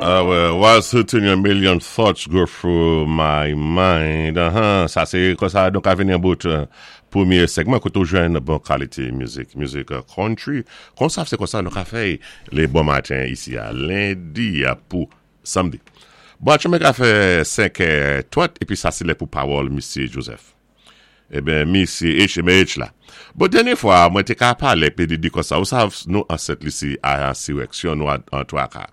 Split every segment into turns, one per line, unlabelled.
Ah, while sitting a million thoughts go through my mind. Sa sé konsa donk ka vini an bout pwémyé segman koté ou jwenn bon kalité mizik, mizik country. Konsa sé konsa nou ka fè lé bon maten isi a lendi pou samdi. Bon, aktyèlman ka fè 5 è 30 épi sa sé lè pou pawòl Misye Joseph. Eben misye HMH la. Bon dènye fwa mwen té ka palé épi li di konsa ou sav nou an Sent Lisi a an sireksyon nou an twaka.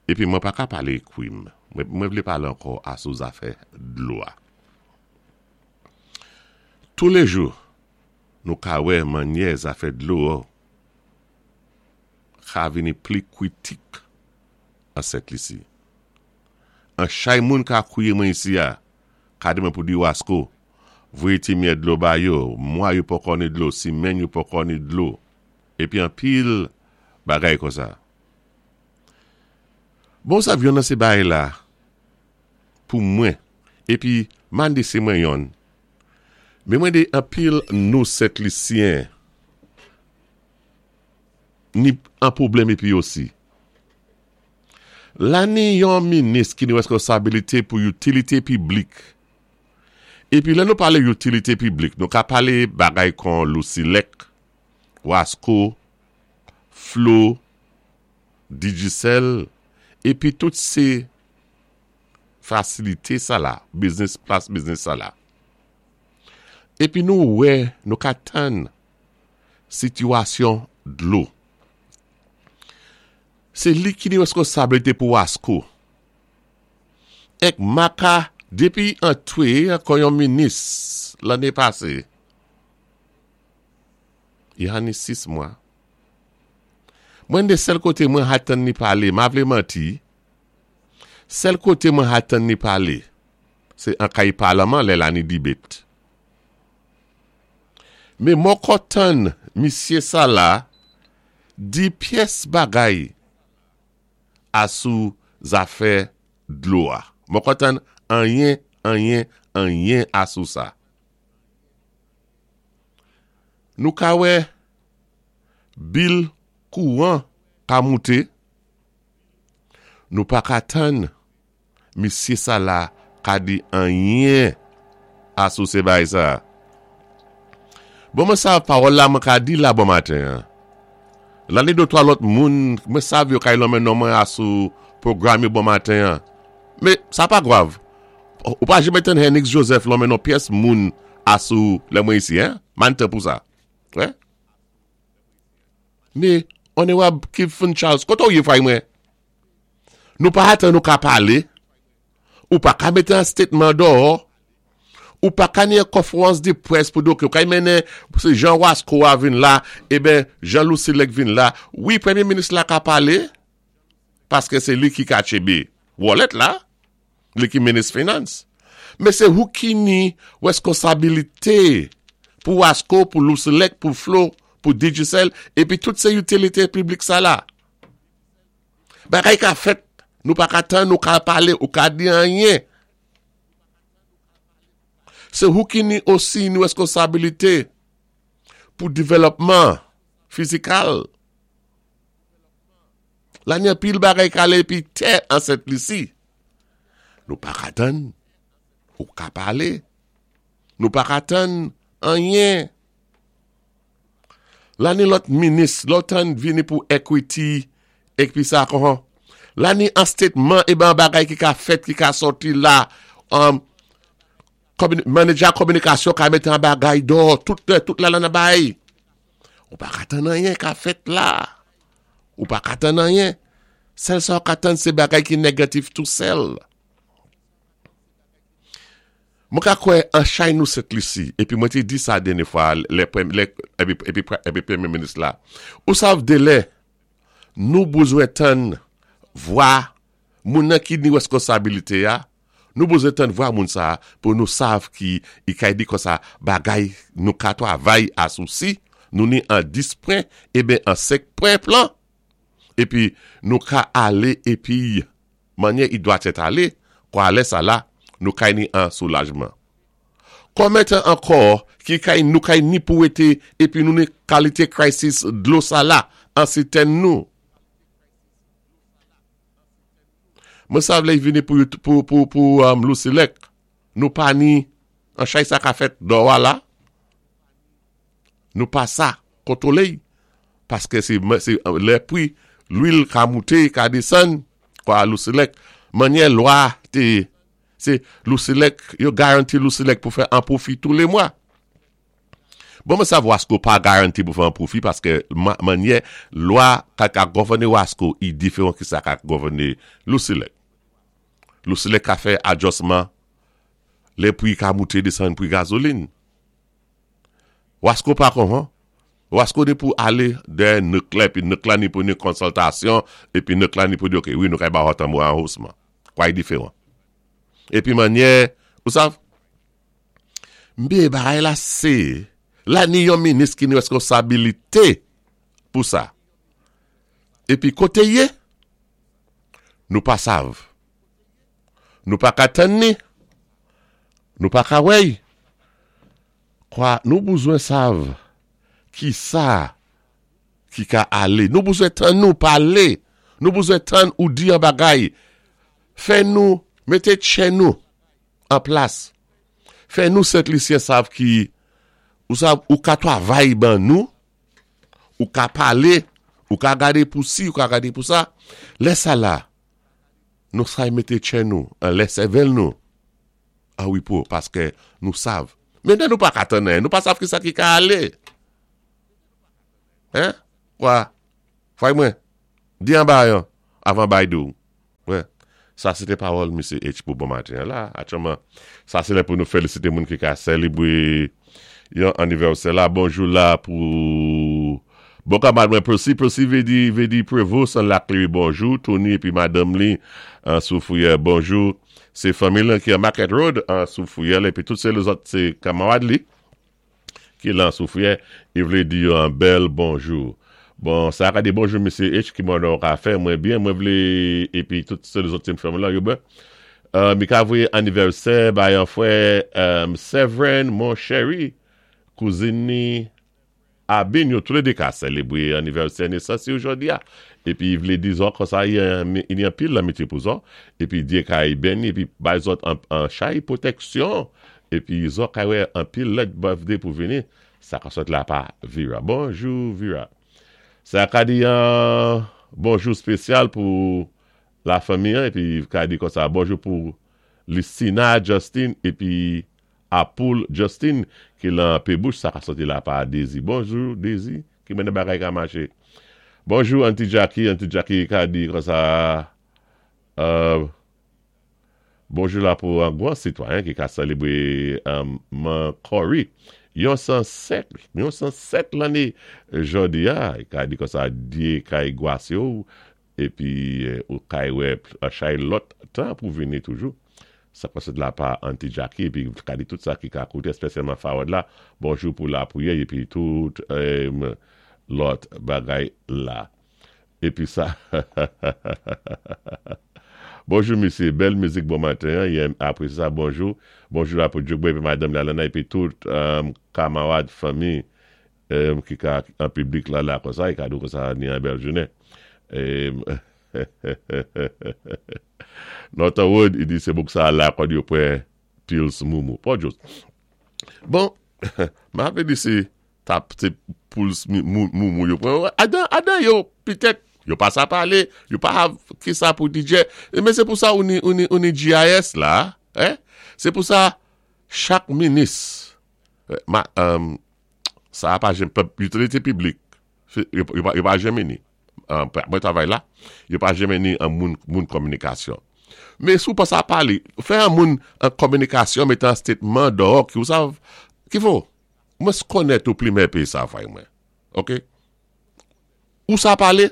Épi mwen pa ka palé kwim. Mwen vlé palé ankò asou zafè dlo a. Toulèjou nou ka wè mannyè zafè dlo ka vini pli kwitik an Sent Lisi. An chay moun ka kwiyé mwen isi a, ka di mwen pou di wasko, voyé ti myè dlo ba yo, mwa yo pòkò ni dlo, simèn yo pòkò ni dlo, épi anpil bagay konsa. Bon sa vyonn nan se bay la pou mwen épi mande se mwen yonn men mwen de anpil nou sentlisyen ni an pwoblèm épi osi la ni yon minis ki ni reskonsabilite pou itilite piblik épi lè nou pale itilite piblik nou ka pale bagay kon lousilèk wasko flo Digicel epi tout se fasilite sa la, biznis plas biznis sa la. Epi nou wè nou ka tann sitiyasyon dlo. Se li ki ni reskonsabilite pou wasko. Ek maka depi antre kon yon minis lane pase. I hani 6 mwa. Mwen de sèl koté mwen ha tann ni palé, ma vlé manti, sèl koté mwen ha tann ni palé, sé an kay palaman lè la ni debate. Mé mòkò tann misyé sa la di pyès bagay asou zafè dlo a. Mòkò tann anyen, anyen, anyen asou sa. Nou ka wè Bil kouran ka moute, nou pa ka tann misye sa la ka di anyen asou se bay sa. Bon mwen sav pawòl la mwen ka di la bon maten an. La ni de 3 lòt moun mwen sav yo kay lonmen non mwen asou pwogram yo bon maten an. Men sa pa gwav. Ou pa janmen tann Hennix Joseph lonmen non pyès moun asou lè mwen isi hein. Man tan pou sa. Wè. Me, Onerab Kivfun Charles, kote ou ye fray mwen? Nou pa atan nou ka pale, ou pa ka mete an statement dòhò, ou pa ka ni an konferans de près pou di ok, ou kay mennen, se Jean Wasco a vin la, e ben Jean Lousilek vin la. Wi, premye minis la ka pale, paske se li ki ka tchebe wallet la. Li ki minis finans. Men se ou ki ni reskonsabilite pou Wasco, pou Lousilek, pou Flo, pou Digicel, epi tout se itilite piblik sa la. Bagay ka fèt, nou pa ka tann, ou ka pale, ou ka di anyen. Se ou ki ni osi ni reskonsabilite pou developman fizikal. La ni anpil bagay kale epi tè an Sent Lisi. Nou pa ka tann, ou ka pale. Nou pa ka tann anyen. La ni lòt minis, lò tann vini pou equity, epi sa kon. La ni an statement e ban bagay ki ka fèt, ki ka sòti la. Manager kominikasyon ka mete an bagay dò, tout lè, tout la nan bay. Ou pa ka tann anyen ka fèt la. Ou pa ka tann anyen. Sèl sa ou ka tann se bagay ki negatif tou sèl. Mwen ka kwè an chay nou Sent Lisi, epi mwen te di sa dènye fwa lè epi premye minis la. Ou sav delè nou bezwen tann vwa moun nan ki ni reskonsabilite a, Nou bezwen tann vwa moun sa pou nou sav ki i kay di konsa bagay nou ka travay a sousi nou ni an 10 pwen eben an 5 pwen plan epi nou ka ale epi manyè i dwa tèt ale kwa lè sa la nou kay ni an soulajman. Konben tan ankò ki kay nou kay ni pou wete epi nou ni kalite crisis dlo sa la an sitèn nou. Mwen sav lè y vini pou pou pou pou Lusilec, nou pa ni an chay sa ka fèt dò a la. Nou pa sa kontwolé y paské sé sé lè pri lwil ka moute, ka desann kwa Lusilec mannyè lwa té sé Lusilec yo garanti Lusilec pou fè an pwofi tou lé mwa. Bon mwen sav Wasco pa garanti pou fè an pwofi paske mannyè lwa ka ka govène Wasco i diferan ki sa ka govène Lusilec. Lusilec ka fè adjòsman lè pri ka moute desann pri gazolin. Wasco pa kon han. Wasco ni pou ale dèyè NUC la epi NUC la ni pou ni konsiltasyon epi NUC la ni pou di ok wi nou kay ba hòt an mwa an hosman. Kwa i diferan. Epi mannyè ou sav. Mbe bagay la se la ni yon minis ki ni reskonsabilite pou sa. Epi kote ye? Nou pa sav. Nou pa ka tann ni. Nou pa ka wè y. Kwa nou bouzwen sav ki sa ki ka ale. Nou bouzwen tann nou pale. Nou bouzwen tann ou di yon bagay. Fè nou mete tchè nou. An plas. Fè nou Sent Lisyen sav ki ou sav ou ka twavay ban nou, ou ka pale, ou ka gade pou si, ou ka gade pou sa. Lè sa la, nou say mete tchè nou anlè sèvèl nou an repo paske nou sav. Men lè nou pa ka tann anyen, nou pa sav ki sa ki ka ale. Hein? Kwa? Fay mwen. Di anba yon avan bay di w. Wè, sa se te pawòl Misye H pou bon maten an la. Aktyèlman, sa se lè pou nou felisite moun ki ka selebre yon anivèsè la. Bonjou la pou bon kanmarad mwen Percy. Percy vle di, vle di Prevost an Laklere bonjou. Tony epi madanm li an Soufriyè bonjou. Se fanmi l ki an Market Road an Soufriyè epi tout se lezòt se kanmarad li. Ki lan soufriyè e vle di yo an bèl bonjou. Bon sa ka di bonjou mesye H ki mòdè ou ka fè mwen byen mwen vle epi tout se lezòt tim frèm lan yo byen mi ka voye anivèsè bay an frè Sevren mon cheri kouzin ni Abin yo tou le 2 ka selebre anivèsè nesans yo jodi a epi vle di zò konsa y ni anpil lanmitye pou zò epi Dye kay beni epi bay zòt an chay pwotèksyon Epi zò kay wè anpil lèt birthday pou vini sa ka sot la pa Vira bonjou Vira sa ka di yon bonjou spesyal pou la fanmi an epi ka di konsa bonjou pou Listina Justin epi Apoul Justin ki lan pe bouch sa ka soti la pa Dezi bonjou Dezi ki menen bagay ka mache bonjou Auntie Jackie Auntie Jackie ka di konsa euh. Bonjou la pou an gwan sitwayen ki ka selebre Man Corey yon 107 yon 107 lanne jodi a ka di konsa Dye kay gwase w epi ou kay wè chay lòt tan pou vini toujou sa pase la pa Auntie Jackie epi ka di tout sa ki ka koute espesyalman Fawad la bonjou pou lapriyè epi tout lòt bagay la. Epi sa Bonjou mesye bèl mizik bon maten an yè m apresye sa bonjou bonjou la pou Djogbo epi madanm Lalana epi tout kamarad fanmi ki ka an piblik la la konsa e ka di w konsa ni an bèl jounen Norton Wood li di se bouk sa la kòd yo pran pils moumou Paul Jones bon m ap di se Tap se pouls moumou yo pran adan adan yo petèt yo pa sa pale yo pa have kisa pou di djè men se pou sa ou ni ou ni ou ni GIS la eh se pou sa chak minis ma sa a pa jen pèp utilite piblik yo pa yo pa janmen ni mwen travay la yo pa janmen ni an moun moun kominikasyon men si ou pa sa pale fè an moun an kominikasyon mete an statement dò ki ou sa ki fo. Mwen s konet ou plimen peyi sa fay mwen ok ou sa pale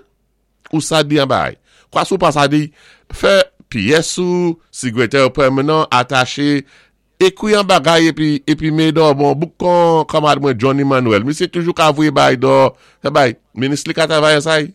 ou sa di an bay kwa sou pa sa di fè pyès ou sigretè ou pèmenan atache ekri an bagay epi epi me dò bon bouk kon kanmarad mwen Johnny Manuel misye toujou ka voye bay dò fè bay minis li ka travay an sa y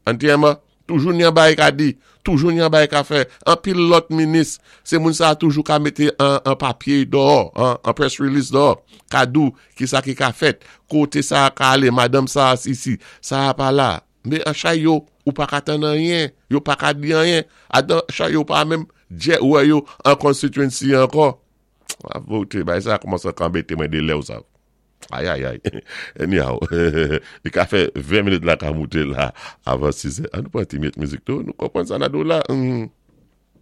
Antyèman, toujou ni anba e ka di, toujou ni anba e ka fè. Anpil lòt minis, se moun sa a toujou ka mete an papye dòò, an press release dòò, ka di w ki sa ki ka fèt, kote sa a ka ale, madanm sa a sisi, sa a pa la. Men an chay yo. Ou pa ka tann anyen, yo pa ka di anyen. Adan chay yo pa menm djè wè yo an constituency ankò. A vote, bay sa kòmanse anbete mwen de lè ou sa. Ayayay. Anyhow, li ka fè 20 minit la ka moute la avan 6 è. An nou pran ti minit mizik tou, nou konprann sa n ap di w la.